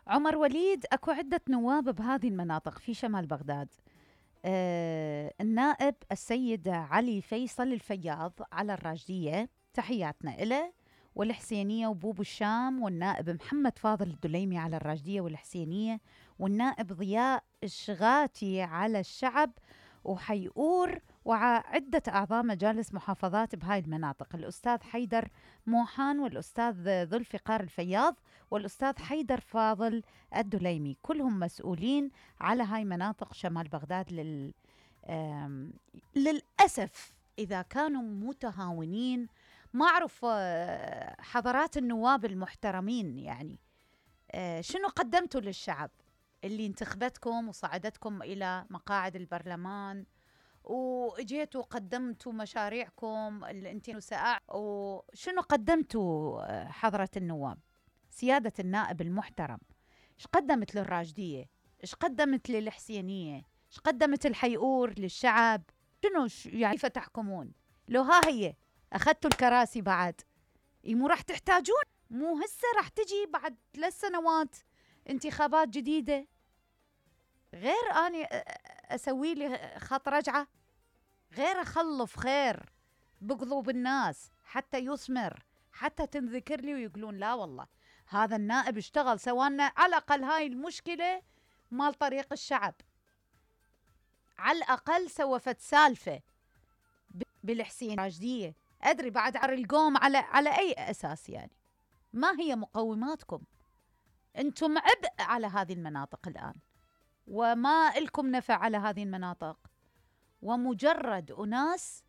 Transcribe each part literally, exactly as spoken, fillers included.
عمر وليد، اكو عدة نواب بهذه المناطق في شمال بغداد. آه النائب السيد علي فيصل الفياض على الراشدية، تحياتنا إله، والحسينية وبوب الشام، والنائب محمد فاضل الدليمي على الراشدية والحسينية، والنائب ضياء الشغاتي على الشعب وحيئور، وعدة أعضاء مجالس محافظات بهاي المناطق، الأستاذ حيدر موحان، والأستاذ ذو الفقار الفياض، والأستاذ حيدر فاضل الدليمي، كلهم مسؤولين على هاي مناطق شمال بغداد. لل... للأسف إذا كانوا متهاونين، ما أعرف حضرات النواب المحترمين، يعني شنو قدمتوا للشعب اللي انتخبتكم وصعدتكم إلى مقاعد البرلمان، وإجيتوا قدمتوا مشاريعكم اللي انتوا ساعة، وشنو قدمتوا حضرة النواب؟ سيادة النائب المحترم، إيش قدمت للراشدية؟ إيش قدمت للحسينية؟ إيش قدمت الحيئور للشعب؟ شنو يعني فتحكمون؟ لو ها هي أخذتوا الكراسي بعد، مو راح تحتاجون، مو هسه راح تجي بعد ثلاث سنوات انتخابات جديدة، غير أني أسوي لي خط رجعة، غير أخلف خير بقلوب الناس حتى يثمر، حتى تنذكر لي ويقولون لا والله هذا النائب اشتغل، سوانا على الأقل هاي المشكلة مال طريق الشعب، على الأقل سوفت سالفة بالحسين راشدية. أدري بعد عر القوم على على أي أساس؟ يعني ما هي مقوماتكم؟ أنتم عبء على هذه المناطق الآن، وما إلكم نفع على هذه المناطق، ومجرد أناس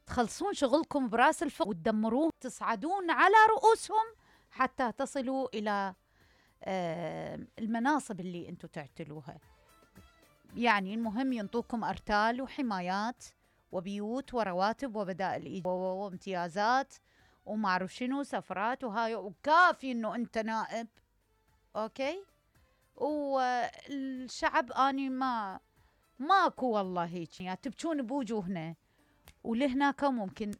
تخلصون شغلكم براس الفق وتدمروه، تصعدون على رؤوسهم حتى تصلوا إلى المناصب اللي أنتم تعتلوها. يعني المهم ينطوكم أرتال وحمايات وبيوت ورواتب وبدائل وامتيازات وما أعرف شنو سفرات وهاي، وكافي إنه أنت نائب، أوكي؟ والشعب أني ما ماكو والله هيك، يعني تبكون بوجوهنا، ولهناك ممكن